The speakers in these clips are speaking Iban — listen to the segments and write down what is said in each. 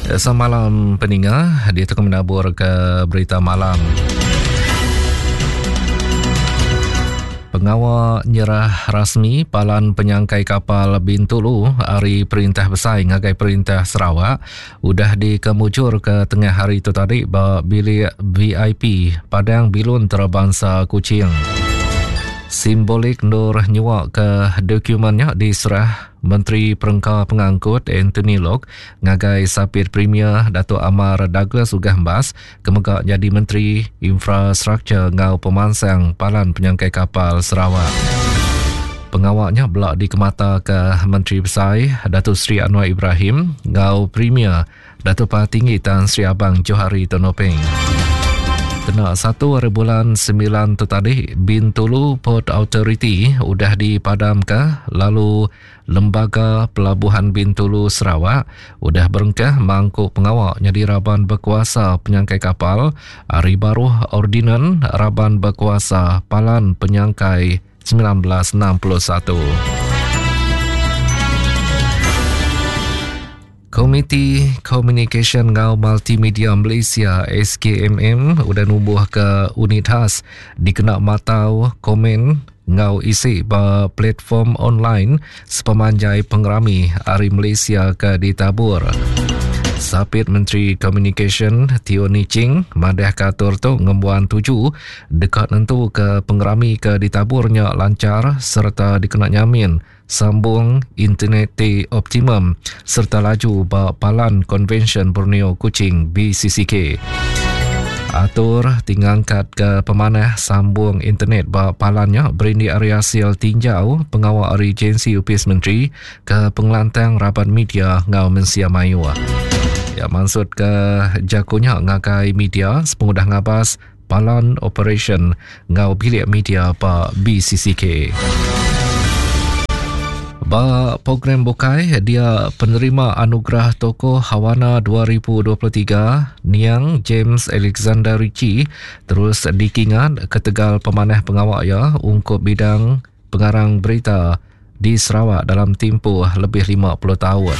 Semalam peninga dia tu menabur ke berita malam. Pengawa nyerah rasmi Palan Penyangkai Kapal Bintulu ari Perintah Besai ngagai Perintah Sarawak udah dikemujur ke tengah hari tu tadi ba bilik VIP Padang Bilun Antarabangsa Kuching. Simbolik endur nyua ke dokumen nya diserah Menteri Perengka Pengangkut Anthony Loke ngagai Sapit Premier Datuk Amar Douglas Uggah Embas ke mega nyadi Menteri Infrastruktur enggau Pemansang Palan Penyangkai Kapal Sarawak. Pengawa nya bela dikemataka Menteri Besai Datuk Seri Anwar Ibrahim enggau Premier Datuk Patinggi Tan Sri Abang Johari Tun Openg. Kena satu hari bulan 9 tu tadi, Bintulu Port Authority udah dipadamka lalu Lembaga Pelabuhan Bintulu Sarawak udah berengkah mangku pengawa nyadi raban bekuasa penyangkai kapal ari baruh Ordinan Raban Bekuasa Palan Penyangkai 1961. Komiti Komunikasyen enggau Multimedia Malaysia SKMM udah numbuhka unit khas dikena matau komen enggau isi ba platform online sepemanjai pengerami Hari Malaysia ke ditabur. Sapit Menteri Komunikasyen Teo Nie Ching madahka atur tu ngembuan tuju deka nentuka pengerami ke ditabur nya lanchar sereta dikena nyamin sambung internet ti optimum sereta laju ba Palan Konvensyen Borneo Kuching BCCK. Atur ti ngangkatka pemanah sambung internet ba palan nya berindik ari asil tinjau pengawa ari agensi opis menteri ke pengelantang raban media enggau mensia mayuh. Iya mansutka jaku nya ngagai media sepengudah ngabas Palan Operasyen enggau Bilik Media ba BCCK. Ba program bukai, dia penerima Anugerah Tokoh Hawana 2023 Niang James Alexander Ritchie terus dikingat ketegal pemanah pengawa iya ungkup bidang pengarang berita di Sarawak dalam timpuh lebih 50 taun.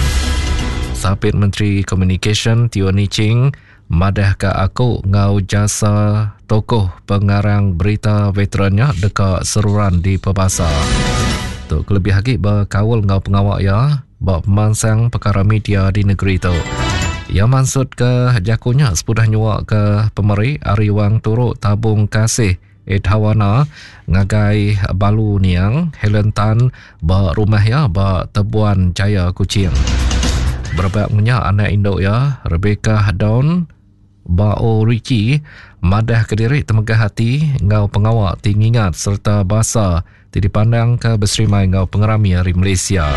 Sapit Menteri Komunikasyen Teo Nie Ching Madahka aku enggau jasa tokoh pengarang berita veteran nya deka seruran dipebasa. Tu kelebih agi bekaul enggau pengawa iya ba pemansang pekara media di negeri tu. Iya mansutka jaku nya sepudah nyuaka pemeri ari wang turu Tabung Kasih Edhawana ngagai Balu Niang Helen Tan ba rumah iya ba Tebuan Jaya Kuching. Berebak menya anak indu iya Rebecca Dawn Bao Richie madah kediri temegah ati enggau pengawa ti ngingat sereta basa ti dipandangka beserimai enggau pengerami ari Malaysia.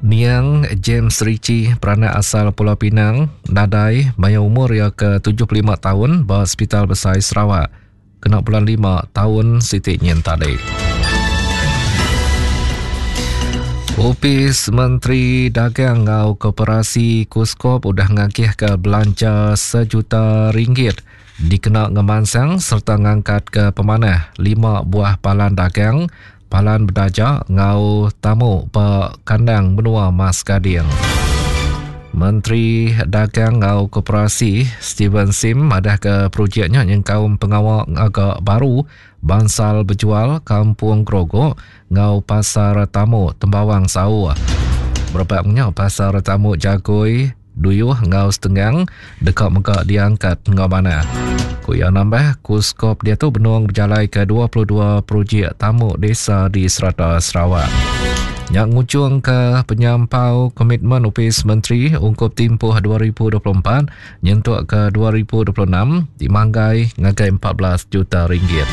Niang James Ritchie, peranak asal Pulau Pinang, nadai maya umur iya ke 75 taun ba Sepital Besai Sarawak kena bulan lima taun siti nyin tadi. Opis Menteri Dagang enggau Koperasi Kuskop udah ngagihka belanja sejuta ringgit dikena ngemansang sereta ngangkatka pemanah lima buah palan dagang Palan bedaja enggau tamu ba kandang menua Mas Gading. Menteri Dagang enggau Koperasi Steven Sim madahka projek nya nyengkaum pengawa ngaga baru bansal bejual Kampung Grogok enggau Pasar Tamu Tembawang Sauh. Berebak nya Pasar Tamu Jagoi Duyuh enggau Setenggang deka mega diangkat enggau manah. Ku iya nambah, Kuskop diatu benung bejalaika 22 projek tamu desa di serata Sarawak. Nya ngujungka penyampau komitmen Opis Menteri ungkup timpuh 2024 nyentuk ke 2026 dimanggai ngagai 14 juta ringgit.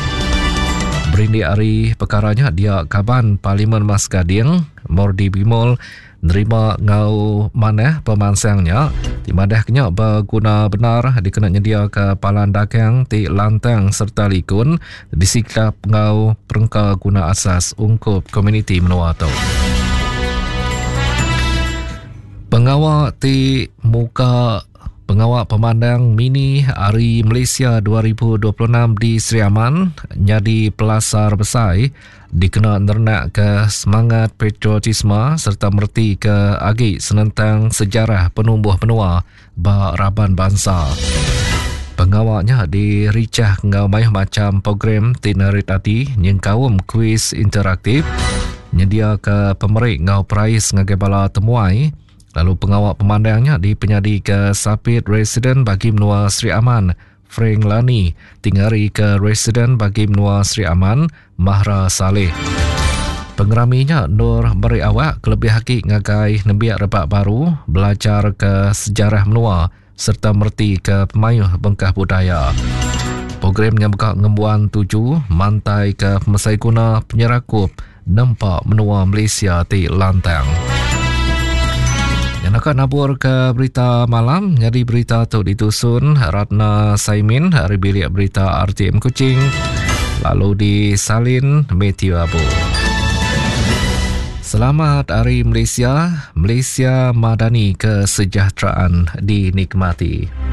Berindik ari pekara nya dia kaban Parlimen Mas Gading, Mordi Bimol Nerima enggau manah pemansang nya ti madahka nya beguna bendar dikena nyediaka palan dagang ti lantang sereta likun disikap enggau perengka guna asas ungkup komuniti menua tu. Pengawa ti muka Pengawa Pemandang Mini Hari Malaysia 2026 di Sri Aman nyadi pelasar besai. Dikena nerenakka semangat patriotisme sereta meretika agi senentang sejarah penumbuh menua ba raban bansa. Pengawa nya dirichah enggau mayuh macham program ti narit ati nyengkaum kuiz interaktif, nyediaka pemeri enggau perais ngagai bala temuai lalu pengawa pemandang nya dipenyadika Sapit Residen Bagi Menua Sri Aman, Frank Lani ti ngarika Residen Bagi Menua Sri Aman, Mahra Salleh. Pengerami nya endur meri awak kelebih agi ngagai nembiak rebak baru belajarka sejarah menua sereta meretika pemayuh bengkah budaya. Program nya mega ngembuan tuju mantaika pemesai guna penyerakup nempa menua Malaysia ti lantang. Yang naka nabur ke berita malam nyadi berita tu ditusun Ratna Saimin ari bilik berita RTM Kuching lalu disalin Matthew Abu. Selamat Hari Malaysia, Malaysia Madani Kesejahteraan dinikmati.